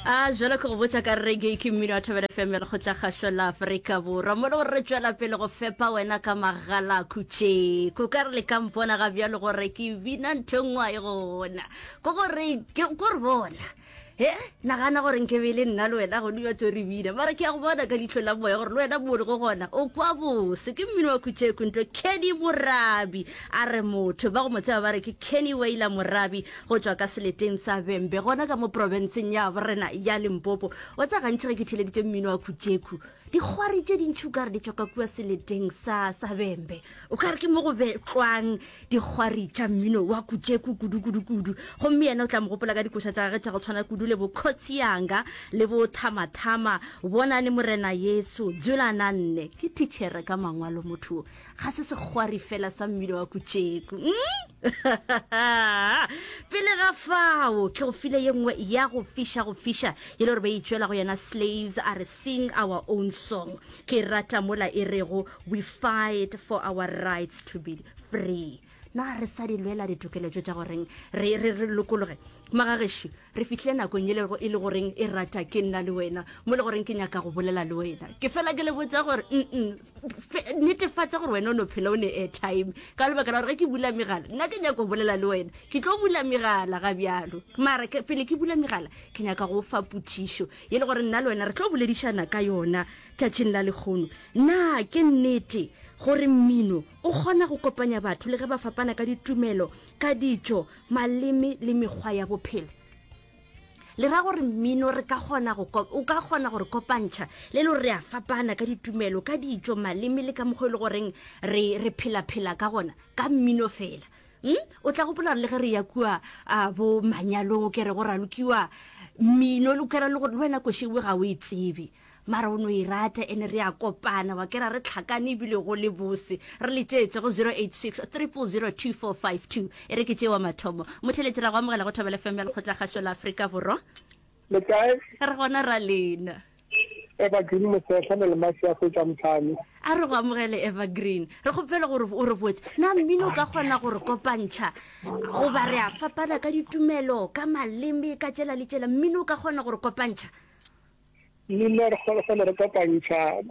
A jalo ke go botša ka reggae ke mmino wa Thobela FM ya Lekgotlakgašo la Afrika Borwa. Mo le gore re tšwela pele go fepa wena ka magala khutše. Ko ka re le ka mpona ga bjalo gore ke bina ntho e nngwe e gona. Ko gore ke ko re bona. He, nagana gore nke be e le nna le wena gone bja tso re bina. Mara ke ya go bona ka leihlo la moya gore le wena mo o lego gona o kwa bose. Ke mmino wa khutšeko ntlo Kenny Morabi a re motho ba go mo tseba ba re ke Kenny Wailer Morabi go tšwa ka seleteng sa Bembe gona ka mo profenseng ya borena ya Limpopo. Wa tseba gantši ge ke theleditše mmino wa khutšekhu dikgwari tše dintši o ka re di tšwa ka kua seleteng sa sa Bembe. O ka re ke mo go betlwang dikgwari tša mmino wa kutšeku kudu-kudu-kudu. Gomme yena o tla mo gopola ka dikoša tša gagwe tša go tshwana kudu le bo Khotsi Yanga le bo Thama-Thama, Bonane Morena Yesu, Dzula Na Nne. Ke thitšhere ka mangwalo motho wo. Ga se sekgwari fela sa mmino wa kutšeku. Mm? Pele ga fao, ke go file ye nngwe ya go fiša go fiša e le gore ba itšwela go yena Slaves a re sing our own song. Ke rata mola e rego We fight for our rights to be free. Na re sa di lwela ditokelo tšo tša goreng re, re, re lokologe? Magagešo, re fihlile nakong e lego e le goreng e rata ke nna le wena, mo le goreng ke nyaka go bolela le wena. Ke fela ke le botša gore mm netefatša gore wena o no phela o ne airtime ka lebaka la gore ge ke bula megala nna ke nyaka go bolela le wena. Ke tlo bula megala ga bjalo, mara ke, pele ke bula megala ke nyaka go fa potšišo ye le gore nna le wena re tlo boledišana ka yona. Tšatšing la lehono, na ke nnete gore mmino o kgona go kopanya batho le ge ba fapana ka ditumelo, ka ditšo, maleme le mekgwa ya bophelo? Le ra gore mmino re ka kgona go o ka kgona go re kopantšha le le gore re a fapana ka ditumelo, ka ditšo, maleme le ka mokgwa e le goreng re re phela-phela ka gona ka mmino fela. Hmm? O tla gopola gore le ge re ya kua a bo manyalong o kere go ralokiwa mmino le kere le gore le wena košewe ga o e tsebe. Mara o no e rata ene re a kopana wa kera re tlhakane ebile go le bose. Re letšetše go 086 000 2452. E re ke tše wa mathomo. Motheletši ra go amogela go Thobela FM ya Lekgotlakgašo la Afrika Borwa. Le kae? Re gona ra lena. Evergreen Mosehla le Lemasi ya Fetša Mthane. A re go amogele Evergreen. Re kgopela gore o re botse, na mmino o ka kgona go re kopantšha goba re a fapana ka ditumelo, ka maleme, ka tšela le tšela, mmino o ka kgona go re kopantšha? Mmino re kgona re kopantšha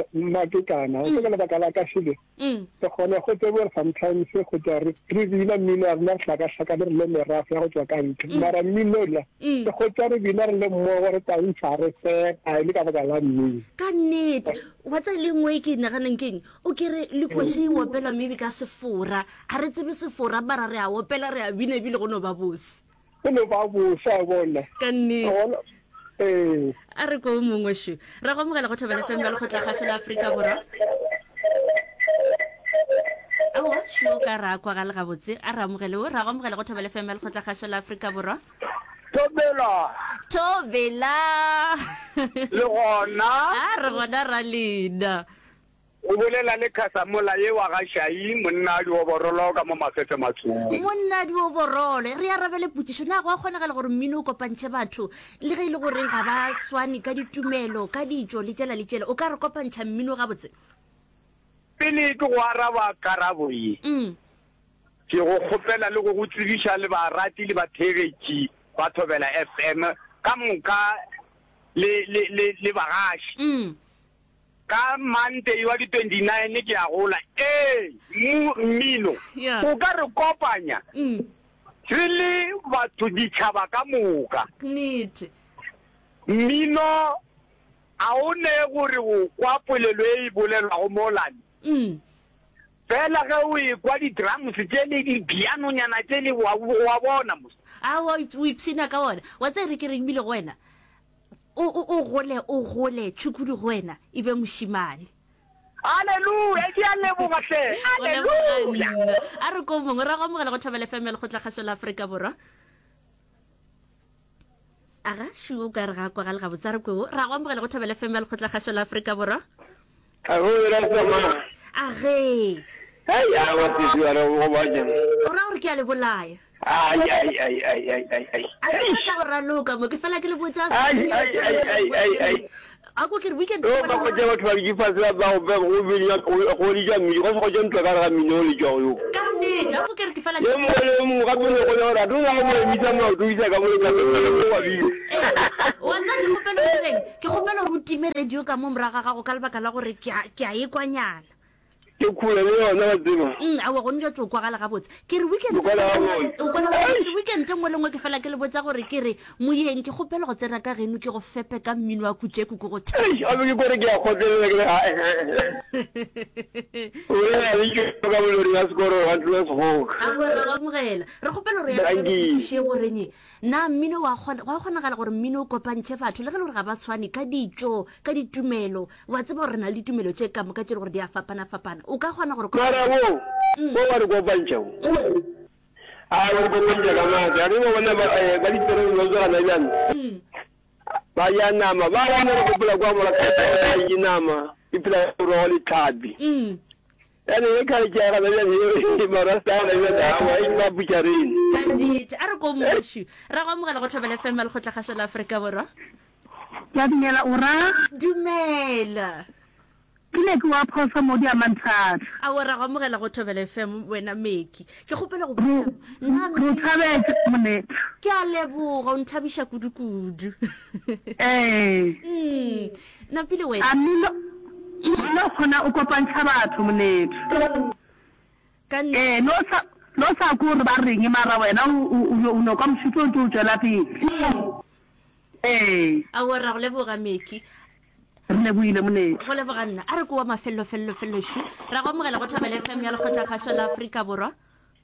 mmakekana o ka lebaka la ka šele re kgona go tsebe gore sometimes go tšwa re re bina mmino wa rena re hlakahlakane re le merafe ya go tšwa ka ntle mara mmino la re kgotsa re bina re le mmogo re tantsha re sega e le ka baka la mmino. Ka nnete wa tseba le nngwe e ke e naganang keng o ke re le koše e opelwa maybe ka sefora ga re tsebe sefora mara re a opela re a bina ebile go no ba bose. Go no ba bose a bona. Ka nnete. Gona, ee. A re ko mongwe šo. Ra go amogela go Thobela FM ya Lekgotlakgašo la Afrika Borwa. Aowa, šo ka ra kwagale gabotse. A re amogele o. Ra go amogela go Thobela FM ya Lekgotlakgašo la Afrika Borwa. Thobela. Thobela. Le gona. A re gona ra lena. O bolela le Khasamola ye wa ga Shai, monna a dioborolo ka mo Mafefematshong. Monna a dioborolo. Re arabele potšišo, Na go a kgonagala gore mmino o kopantšhe batho le ge e le goreng ga ba swane ka ditumelo, ka ditšo le tšela le tšela? O ka re kopantšha mmino gabotse? Pele ke go araba karabo ye, ke go kgopela le go go tsebiša le barati le batheegetši ba Thobela FM ka moka le, le, le, le bagaši. Ka Monday wa di 29 ke a gola. Ee, mu, mmino Yeah. o ka re kopanya Mm. re le batho ditšhaba ka moka. Nnete. Mmino a o ne gore o kwa polelo e e bolelwago mo lane. Mm. Fela ge o ekwa di-drums tše le di-pianonyana tše le wa, wa bona mos. Aowa, o ipshina ka wona. Wa tseba re ke reng ebile go wena? O, o, o gole, o gole, tšhukudu go wena e be mošemane. Haleluya, ke a leboga hle. Go leboga Haleluya. nna. A re ko mongwe, ra go amogela go Thobela FM ya Lekgotlakgašo la Afrika Borwa. Aga, šu, o ka re ga kwagale gabotse, a re kweo. Ra go amogela go Thobela FM ya Lekgotlakgašo la Afrika Borwa. A go ra tsamaya. Age. Ai a wa tsitsi wa re go ba jang. O ra gore ke a le bolaya. Ai ai ai ai ai ai ai. A ke batla go raloka mo ke fela ke le botša. Ai ai ai ai ai ai. A ko ke re weekend. O ba go tša batho ba di fase ba ba go go bina go di ja mmino go se go ja ntwa ka re ga mmino o le tšwa yo. Ka nnete a ko ke re ke fela. Ye mongwe le mongwe gape le go le gore a tlo go mo emisa maoto isa ka mo le ka go wa bina. kgopela o direng? Ke kgopela gore o time radio ka mo morago ga gago ka lebaka la gore ke a ke a e kwanyana. Ke khula le yona wa tseba. Mm, aowa gone jwa tso kwagala gabotse. Ke re weekend O kwala gabotse. o kwala gabotse. Ke re weekend e nngwe le nngwe ke fela ke le botsa gore ke re moyeng ke kgopela go tsena ka geno ke go fepe ka mmino wa kutšeku ke go Eish, a be ke kore ke a kgotlelela ke re ha eh, eh, eh. O re a le ke ka molori ya sekoro wa ntlo ya segoka. Aowa re go amogela. Re kgopela gore ya re Dankie. thuše goreng na mmino wa kgona gwa kgonagala gore mmino o kopantšhe batho le ge le gore ga ba tshwane ka ditšo ka ditumelo wa tseba gore re na le ditumelo tše ka moka tše le gore di a fapana-fapana o ka kgona gore Mara wo, wo wa re kopantšha wo. A wa re kopantšha ka maatla. A re ba bona ba, eh, ba diterene ba tswa gana bjang. Ba ja nama, ba bona re gopola kwa mola ka ba je nama, e phela ka morogo le tlhapi. Ene ye kgale ke ya gana bjang ye marasta a gana bjang awa e ba butšareng. Ka nnete a re ko mošu ra go amogela go Thobela FM ya Lekgotlakgašo la Afrika Borwa. Ke a dumela o ra. Dumela. Ke ne ke wa phoso mo diamanthatha. Aowa ra go amogela go Thobela FM wena Meki. Ke kgopela go botša nna Re o thabetše monetha. Ke a leboga o nthabiša kudu kudu. Ee. Mm. Napile wena. A mmino mmino o kgona o kopantšha batho monetha. Ka Ee no sa no sa kwe gore ba reng mara wena o o o no kwa mošito o ntse o tšwela pele. Ee. Aowa ra go leboga Meki. Re lebohile monetho. Go leboga nna. A re ko wa mafello fello fello šu. Ra go amogela go Thobela FM ya Lekgotlakgašo la Afrika Borwa.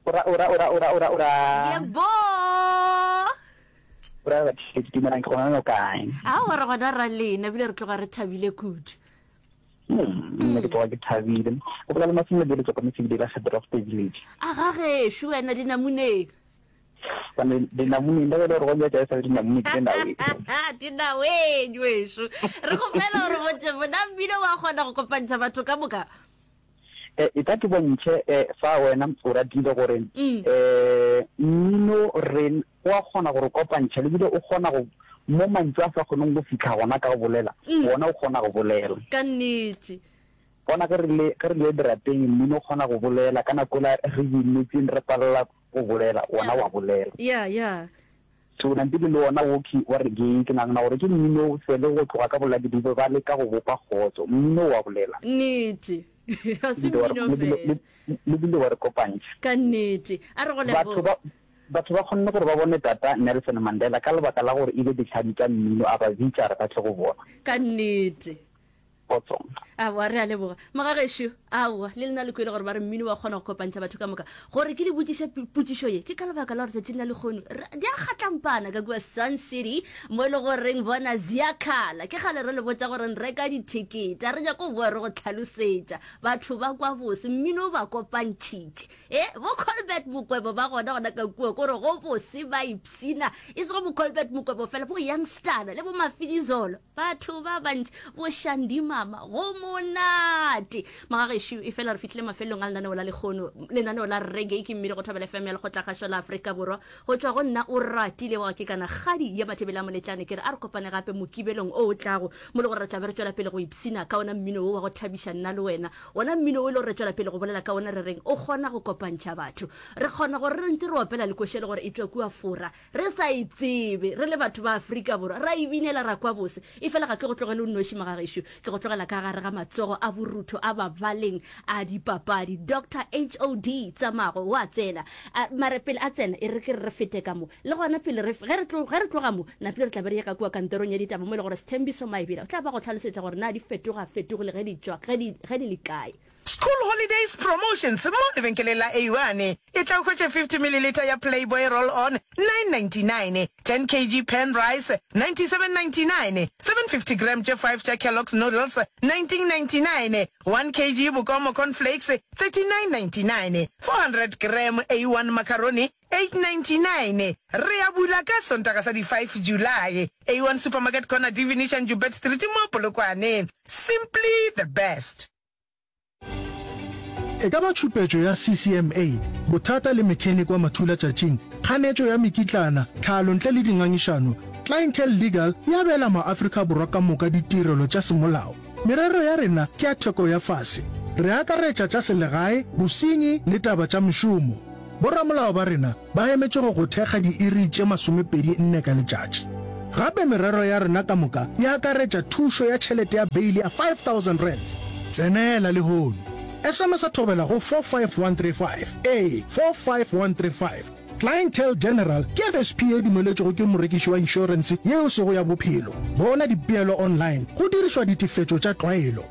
Ora ora ora ora ora ora. Yebo. Ora batheetši dumelang ke gona no kae? Aowa re gona ra lena ebile re tloga re thabile kudu. Hmm, nna ke tloga ke thabile. O bolela le Masimile Bele tšwa kwa Metsebile la Gedroft Village. A ga gešo wena dinamuneng. Gobane dinamuneng le ge e le gore go bja e sa le dinamune ke dinaweng. Dinaweng wešo. Re kgopela gore botse bona mmino wa kgona go kopantšha batho ka moka. Eh, e tla ke bontšhe eh, fa wena o ratile gore mm. eh, mmino re o a kgona gore kopantšha le bile o kgona go mo mantšu a sa kgoneng go fitlha gona ka go bolela mm. wona o kgona go bolela ka nnete bona ge re le ge re le dirapeng mmino o kgona go bolela ka nako la re binetseng re palela go bolela wona wa bolela. Yeah, yeah. So nampile le wona wo ke wa reggae ke nagana gore ke mmino fele go tloga ka boladidibe ba leka go bopa kgotso. Mmino wa bolela. Nnete. Ga se mmino fela. Le bile wa re kopantšha. Ka nnete. A re go leboga. Batho ba batho ba kgonne gore ba bone tata Nelson Mandela ka lebaka la gore e be ditlhami tša mmino a ba bitša re ba tle go bona. Ka nnete. Kgotsong. Aowa, re a leboga. Mogagešo, aowa, le lena le kwele gore ba re mmino wa kgona go kopantšha batho ka moka. Gore ke le botšiše potšišo ye, ke ka lebaka la gore tšatšing la lekgono, di a kgatlampana ka kua Sun City, mo e le goreng bona ziakhala. Ke kgale re le botša gore reka dithekete, a re nyako boa re go tlhalosetša. Batho ba kwa bose, mmino o ba kopantšhitše. E, bo Colbert Mokwebo ba gona gona ka kua, kore go bose ba ipshina. E sego bo Colbert Mokwebo fela, bo Youngstana le bo Mafidizolo. Batho ba bantši, bo Shandy Mama, go monate. Magagešo, e fela re fihlile mafelelong a lenaneo la lekgono, lenaneo la Reggae ke mmino go Thobela FM ya Lekgotlakgašo la Afrika Borwa. Go tšwa go nna o ratile wa ke kana kgadi ya Mathebele a Moletlane, ke re a re kopane gape Mokibelong o o tlago, mo le gore re tla be re tšwela pele go ipshina ka ona mmino wo wa go thabiša nna le wena. Wona mmino wo e le gore re tšwela pele go bolela ka ona re reng o kgona go kopantšha batho. Re kgona gore re ntse re opela le košele gore e tšwa kua Fora, Re sa e tsebe, re le batho ba Afrika Borwa, ra e binela ra kwa bose. Efela ga ke go tlogele o nnoši, magagešo. Ke go tlogela ka gare ga matsogo a borutho a babaleng a dipapadi. Doctor HOD Tsamago o a tsena. A, mara pele a tsena, e re ke re re fete ka mo. Le gona pele re, ge re tlo, ge re tloga mo, napile re tla be re ye ka kua kantorong ya ditaba mo e le gore Sthembiso Maebela o tla ba go hlalosetša gore na di fetoga fetogile ge di tšwa, ge di, ge di le kae. School Holidays Promotions mo lebenkeleng la A1. E tla o hwetše 50 mililitha ya Playboy Roll On, 9.99, 10 kg Pan Rice, 97.99, 750 gram tše 5 tša Kellogg's Noodles, 19.99, 1 kg Bokomo Corn Flakes, 39.99, 400 gram A1 Macaroni, 8.99. Re a bula ka Sontaga sa di 5 July. A1 Supermarket Corner D Venetian Joubert Street mo Polokwane. Simply the best. E ka ba tšhupetšo ya CCMA, bothata le mechanic wa mathulatšatšing, kganetšo ya mekitlana, tlhalo ntle le dingangišano, Clientele Legal e abela maAfrika Borwa ka moka ditirelo tša semolao. Merero ya rena ke ya theko ya fase. Re akaretša tša selegae, bosenyi le taba tša mešomo. Boramolao ba rena ba emetše go go thekga diiri tše 24 ka letšatši. Gape merero ya rena ka moka e akaretša thušo ya tšhelete ya beili ya R5000. Tsenela lehono. SMS-a Thobela go 45135. Ee, 45135. Clientele General ke FSP ye e dumeletšwego ke morekiši wa inšorense ye e sego ya bophelo. Bona dipeelo online go dirišwa ditefetšo tša tlwaelo.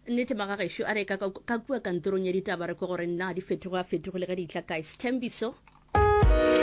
Nnete magagešo a re ka ka kua kantorong ya ditaba re kwe gore na di fetoge a fetogile ge di tla kae. Sthembiso.